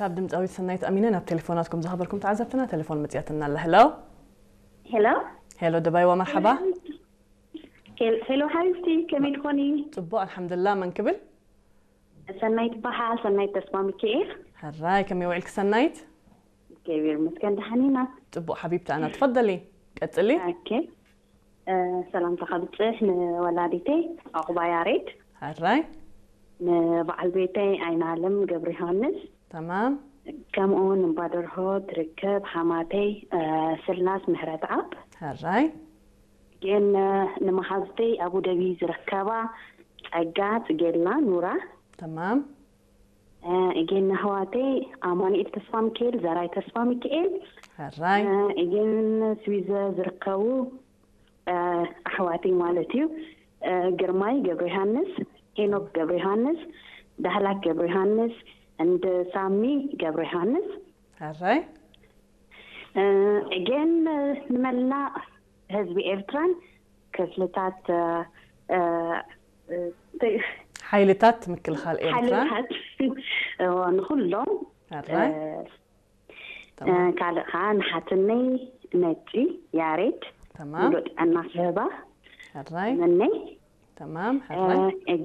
ካብ ድምፃዊት ሰናይት ኣሚነ ናብ ቴሌፎናትኩም ዝኸበርኩም ተዓዘብትና ቴሌፎን መፅያትና ኣላ። ሄሎ። ሄሎ። ሄሎ ደባይዋ፣ መርሓባ። ሄሎ ሓቢብቲ፣ ከመይ ትኾኒ? ፅቡቅ ኣልሓምዱላ። መን ክብል? ሰናይት በሃል። ሰናይት ተስፋ ሚካኤል። ሕራይ፣ ከመይ ውዒልክ ሰናይት? እግዚኣብሔር ይመስገን፣ ደሓን ኢና። ፅቡቅ ሓቢብቲ፣ ኣና ትፈደሊ። ቀፅሊ። ኦኬ። ሰላምታ ከብፅሕ ንወላዲተይ ኣቑባ ያሬድ፣ ሕራይ። ንበዓል ቤተይ ኣይናለም ገብረ ዮሃንስ፣ ተማም። ከምኡ እውን እምባደርሆ ትርከብ ሓማተይ ስላስ ምህረት ኣብ፣ ሕራይ። ግን ንመሓዝተይ ኣቡደቢ ዝርከባ ጸጋ ጽጌላ ኑራ፣ ተማም። እጌን ኣሕዋተይ ኣማኑኤል ተስፋ ሚካኤል፣ ዘራይ ተስፋ ሚካኤል፣ ሕራይ። እጌን ስዊዘ ዝርከቡ ኣሕዋተይ ማለት እዩ። ግርማይ ገብረ ዮሃንስ፣ ሄኖክ ገብረ ዮሃንስ፣ ዳህላክ ገብረ ዮሃንስ፣ እንድ ሳሚ ገብረ ዮሃንስ። ሕራይ። እጌን ንመላእ ህዝቢ ኤርትራን ክፍልታት ሓይልታት ምክልኻል ኤርትራ። ሓይልታት ንኩሎም። ሕራይ። ካልእ ከዓ ንሓትነይ ነጪ ያሬድ ተማም። ሙሉእ ጥዕና ክህባ ሕራይ። መነይ ተማም። ሕራይ።